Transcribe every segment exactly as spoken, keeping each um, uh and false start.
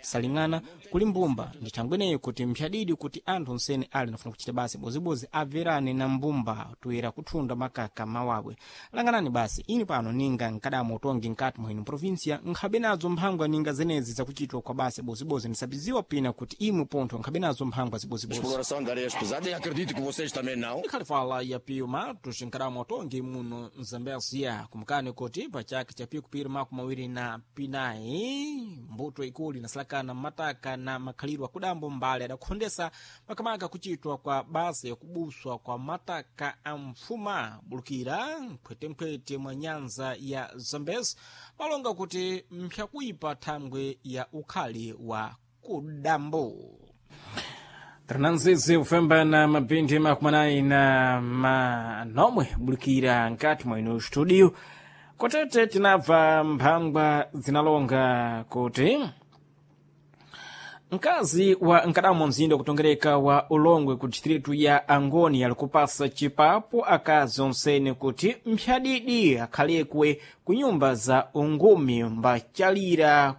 Saling'ana kuli mbumba ndi thangweneyo kuti mphyadidi kuti anthu onsene ali nafuna kuchita basi bozibozi abverane na mbumba toyera kuthunda makaka mawabwe. Langanani basi ini pano ninga nkadamo utongi nkati mwenu provinsia nkhabe nazo mphangwa ninga zenezi zakuchitwa kwa basi bozibozi ndisabiziwa pina kuti imwe pontho nkhabe nazo mphangwa zibozibozi. Exploração de areias pesadas e acredito que vocês também não. Ikhalifala ya Pio Matos nkadamo utongi muno Mzambezia kumkani kuti pachaka cha piku piri makumi mawiri na pinayi mbuto ikulu inasalakana mataka na makhalidwe akudambo mbali adakhondesa makamaka kuchitwa kwa basa yakubuswa kwa mataka a mfuma bulukira mphwetemphwete mwa nyanza ya Zambezi malonga kuti mpyakuipa thangwe ya ukhali wa kudambo. Trananzizi kufemba na mapindi makumanayi na manomwe bulikira nkati mwenu studio kotete tinabva mphangwa zinalonga kuti mkazi wa nkadamo mzinda kutongereka wa Ulongwe ku distritu ya Angoni alikupasa chipapo akazi onsene kuti mphyadidi akhalekwe ku nyumba za ungumi mbachalira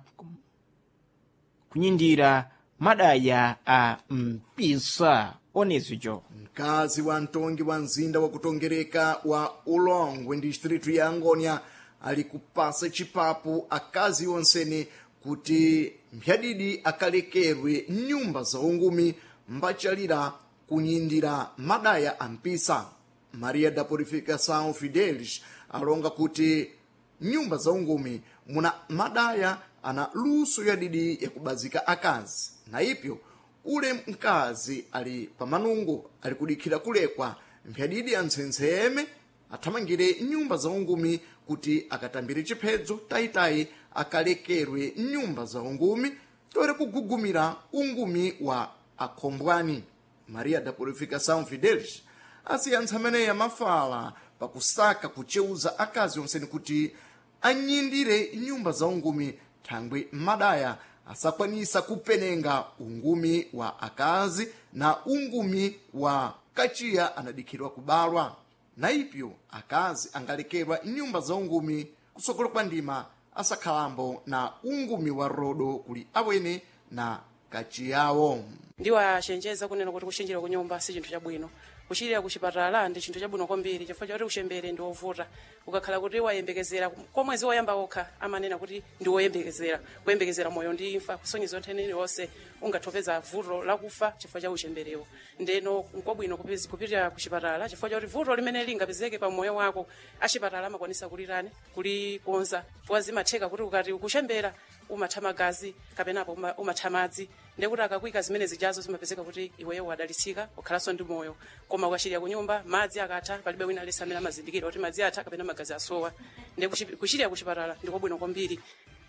kunyindira madaya a mpisa onezijo. Mkazi wa mtongi wa mzinda wa kutongereka wa Ulongwe distritu ya Angonia ali kupasa chipapu akazi onsene kuti mphyadidi akalekerwe nyumba za ungumi mbachalira kunyindira madaya a mpisa. Maria da Purificação Fidelis alonga kuti nyumba za ungumi muna madaya ana luso yadidi yakubazika akazi na ipyo ule mkazi ali pamanungo ali kudikhira kulekwa mphyadidi antsentseme athamangire nyumba za ungumi kuti akatambire chiphedzo tayitayi akalekerwe nyumba za ungumi toere kugugumira ungumi wa akhombwani. Maria da Purificação Fidelis asiyantsa ameneyi mafala pakusaka kucheuza akazi onseni kuti anyindire nyumba za ungumi thangwi madaya asakwanisa kupenenga ungumi wa akazi na ungumi wa kachiya anadikhirwa kubalwa na ipyo akazi angalekerwa nyumba za ungumi kusokolo kwa ndima asakhalambo na ungumi wa rodo kuli awene na kachiyawo. Ndiwachenjeza kunena kuti kuchenjera ku nyumba si chinthu chabwino, kuchirira kuchipatala ndi chinthu chabwino kwambiri chifukwa chakuti kuchembere ndi wovuta. Ukakhala kuti wayembekezera kwa mwezi woyamba wokha amanena kuti ndi woyembekezera kuyembekezera moyo ndi imfa kusonyeza nthene iliyonse ungathopeza vuto lakufa chifukwa cha uchemberewo. Ndeno nkwabwino kupezi- kupitira kuchipatala chifukwa chakuti vuto limene lingapezeke pa moyo wako achipatala amakwanisa kulirani kulikonza chifukwa zimatheka kuti ukati ukuchembera umatha magazi kapenapo uma- umatha madzi ndekuti akakwika zimene zijazo zimapezeka kuti iweyo wadalitsika ukhalanso ndi moyo. Koma ukachirira ku nyumba madzi akatha palibe wina aliyense amene amazindikira kuti madzi atha kapena magazi asowa. Ndi kuchi- kuchirira kuchipatala ndikwabwino kwambiri.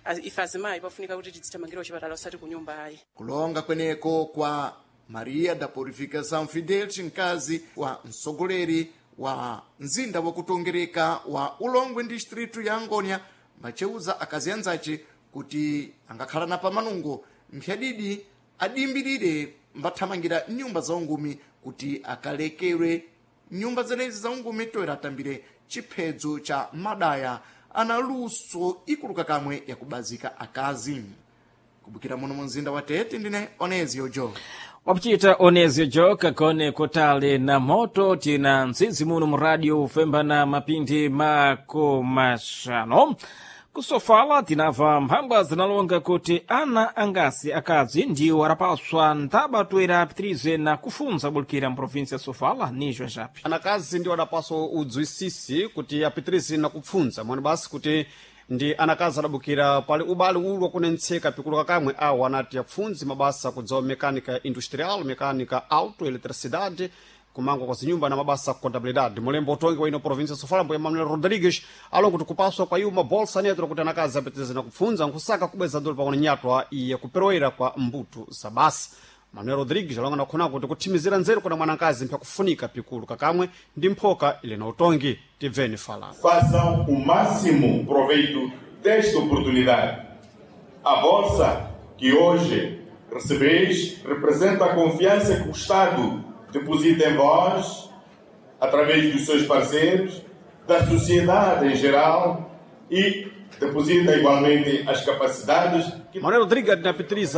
Az- ife azimayi pafunika kuti tizithamangira kuchipatala osati ku nyumba ayi. Kulonga kweneko kwa Maria da Purificação Fidelis, mkazi wa mtsogoleri wa mzinda wakutongereka wa Ulongwe distritu ya Angonia macheuza akazi anzace kuti angakhala na pamanungo mphyadidi adimbirire mbathamangira nyumba za ungumi kuti akalekerwe nyumba zenezi za ungumi toera atambire chiphedzo cha madaya ana luso ikuluka kamwe yakubazika akazi. Kubukira muno mu mzinda wa Tete ndine Onezio Jo. Wapuchita Onezio Jo kagone kotale na moto tina ntsitsi muno mu radio kufemba na mapindi makomaxano kusofala tinamva mphangwa zinalonga kuti ana angasi akadzi ndiwo arapaswa ntaba toera apitirize na kufunza bulikira mprovinsia ya Sofala nijo japi. Anakazi ndiwo adapaswa udzwisisi kuti apitirize na kupfunza mwani basi kuti ndi anakazi adabukira pali ubale ulu wakunentseka pikuluka kamwe awo anati apfundzi mabasa kudzawa mecânica industrial, mecânica auto, eletricidade, kumangwa kwa zinyumba na mabasa a contabilidade. Mulembo utongi wa ino província Sofala mbuya Manuel Rodrigues alonga kuti kupaswa kwa iwo mabolsa neto kuti anakazi apitirize na kupfunza nkusaka kubweza dolo pakona nyatwa iye kuperoera kwa mbuto za basa. Manuel Rodrigues alonga nakhona kuti kuthimizira nzeru kuna mwanakazi mpyakufunika pikulu kakamwe ndi mphoka ili na utongi. Tibveni falano. Façam o máximo proveito desta oportunidade. A bolsa que hoje recebeis representa a confiança que o Estado deposita em vós, através dos seus parceiros, da sociedade em geral e deposita igualmente as capacidades que Manuel Rodrigues adinapitiriza.